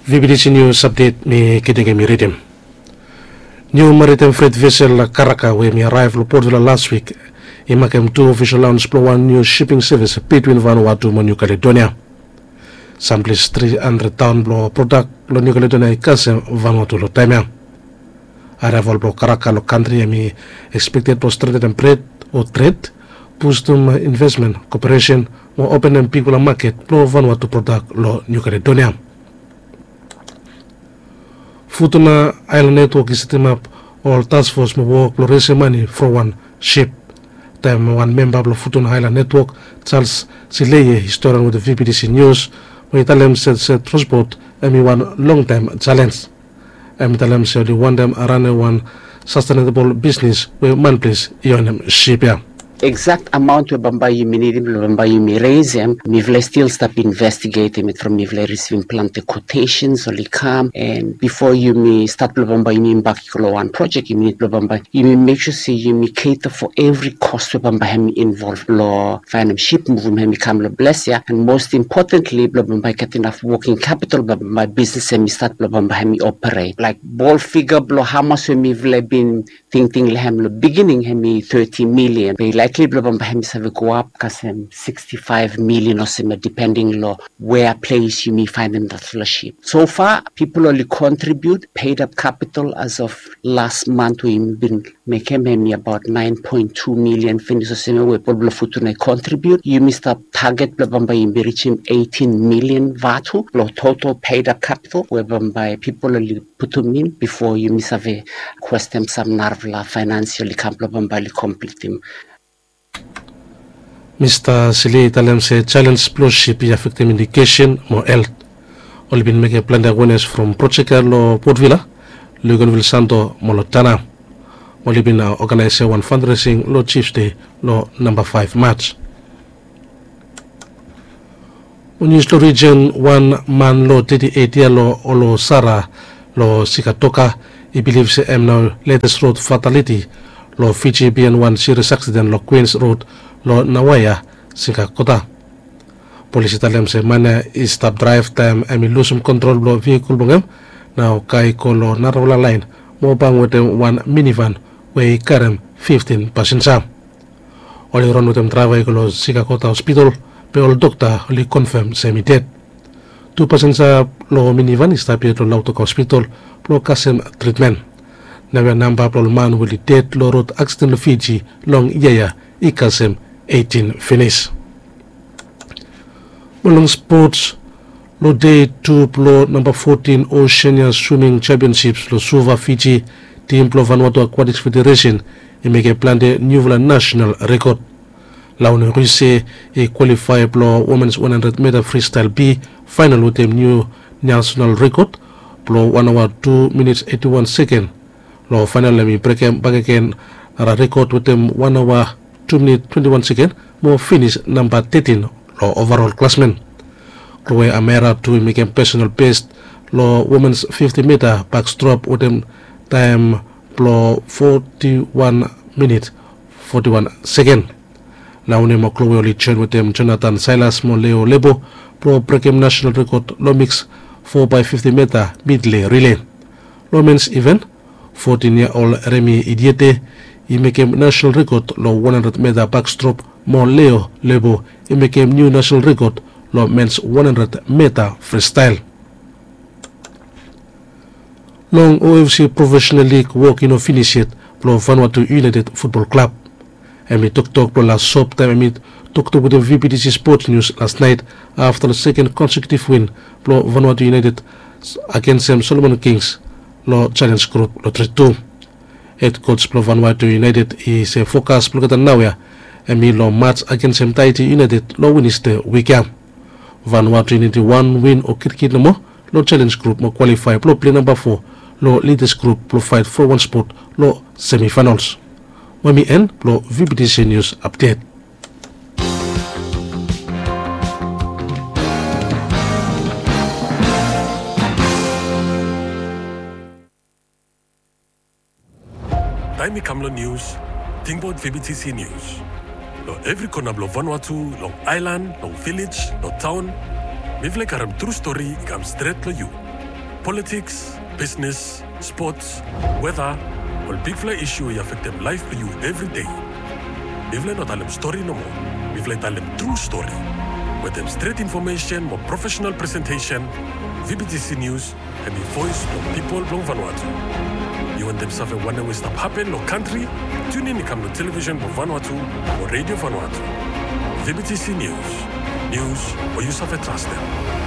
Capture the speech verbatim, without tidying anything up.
V B T C News Update, mi Kedenge mi ridim. Niu maritem fret vesel Karaka we mi araev long Port Vila las wik i makem tu ofisol laons blong wan niu siping sevis bitwin Vanuatu mo Niu Kaledonia. Samples tri handred taon blong prodak long Niu Kaledonia i kasem Vanuatu long taem ya. Araeval blong Karaka long kantri hem i ekspekted blong strentenem tred o tred, bustum invesmen, koperesen mo openem bigfala maket blong Vanuatu prodak long Niu Kaledonia. Futuna Aelan Netwok i setemap ol taskfos mo wok blong resem mane from wan sip. Taem wan memba blong Futuna Aelan Netwok, Charles Sileie, i storian wetem V B T C Nius mo i talem se se transpot hem i wan longtaem jalenj. Hem i talem se oli wantem ranem wan sastenebol bisnes we manples i onem sip ya. Eksakt amaon we bambae yumi nidim blong bambae yumi resem, mifala i stil stap investigetem it from mifala i risivim plante kwotesens oli kam, and bifo yumi stat blong bambae yumi bak i go long wan projek, yumi nid blong bambae yumi mek sua se yumi keta fo evri kos we bambae hem i involv long faenem sip, muvum hem i kam long ples ya, and most importantly blong bambae i gat inaf woking kapitol blong bambae bisnes hem i stat blong bambae hem i operet. Laek bol figa blong hamas we mifala i bin tingting long hem long bigining hem i thirty million, be i laekli blong bambae hem i save goap kasem sixty-five million olsem ya, dipending long wea ples yumi faenem datfala sip. So far pipol oli kontribiut, paid up capital as of las mant we yumi bin mekem hem i abaot nine point two million finis olsem ya we pipol blong Futuna i kontribiut. Yumi stap taget blong bambae yumi rijim eighteen million vatu long total paid up capital we bambae pipol oli putum in bifo yumi save kwestem sam narafala faenansial i kam blong bambae oli komplitim. Mista Sili i talem se jalenj blong sip i afektem edukesen mo helt. Oli bin mekem plante awenes from projek ya long Port Vila, Luganville Santo mo long Tanna. Oli bin oganaesem wan fandresing long Tuesday long namba faef Maj. Nius long rijen, wan man long teti eit yia long Olosara long Sikatoka i bilif se hem nao letes rod fataliti long Fiji biaen wan sirias aksiden long Queens Rod long Nawaia, Sikakota. Polis i talem se man ya i stap draev taem hem i lusum kontrol blong vihikol blong hem, nao kae i go long narafala laen mo bam wetem wan minivan we i karem fiftin pasenja. Oli ran wetem draeva i go long Sikakota Hospitol, be ol dokta oli konfam se hem i ded. Tu pasenja long minivan i stap yet long Lautoka Hospitol blong kasem tritmen. Naoia namba blong ol man we oli ded long rod aksiden long Fiji long yia ya i kasem eitin finis. Mo long spots, long dei tu blong namba fotin Oceania Swimming Championships long Suva, Fiji, tim blong Vanuatu Aquatics Federation i mekem plante niufala nasenal rekod. Laune Ruise i kwalifae blong womens wan handred mita fristael B faenal wetem niu nasenal rekod blong wan aoa tu minits eiti wan seken. Long faenal hem i brekem bakegen nara rekod wetem wan aoa tu minit twenti wan seken mo finis namba tetin long ovarol klasmen. Chloe Amera tu i mekem pesonal bes long womens fifti mita bakstrop wetem taem blong foti wan minit foti wan seken. Laune mo Chloe oli joen wetem Jonathan Silas mo Leo Lebo blong brekem nasenal rekod long miks fo bae fifti mita midlei rile. Long mens iven, fotin yia ol Remi Idiete i mekem nasenal rekod long wan handred mita bakstrop mo Leo Lebo i mekem niu nasenal rekod long mens wan handred mita fristael. Long O F C Professional League wok i no finis yet blong Vanuatu United Futbol Klab. Hem i toktok blong las sop taem hem i toktok wetem V B T C Sports News las naet afta long seken konsekitiv win blong Vanuatu United agensem Solomon Kings long jalenj grup long tri tu. Hed koj blong Vanuatu United i se fokas blong olgeta naoia hem i long maj agensem Tahiti United long Wenesde wik ya. Vanuatu i nidim wan win o kitkit nomo long jalenj grup mo kwalifae blong plei namba fo long lidas grup blong faet fo wan spot long semifaenols. Wami en blong V B T C Nius Apdet. Taem i kam long nius, tingbaot V B T C Nius. Long evri kona blong Vanuatu, long aelan, long vilej, long taon, mifala i karem tru stori i kam stret long yu. Politiks, bisnes, spots, weta, ol bigfala isu we i afektem laef blong yu evri dei. Mifala i no talem stori nomo, mifala i talem tru stori. Wetem stret infomesen mo profesenal presentesen, V B T C News hemi voes blong pipol blong Vanuatu. Yu wantem save wanem we i stap hapen long kantri? Tune in i kam long televisen blong Vanuatu o redio Vanuatu. V B T C News, nius we yu save trastem.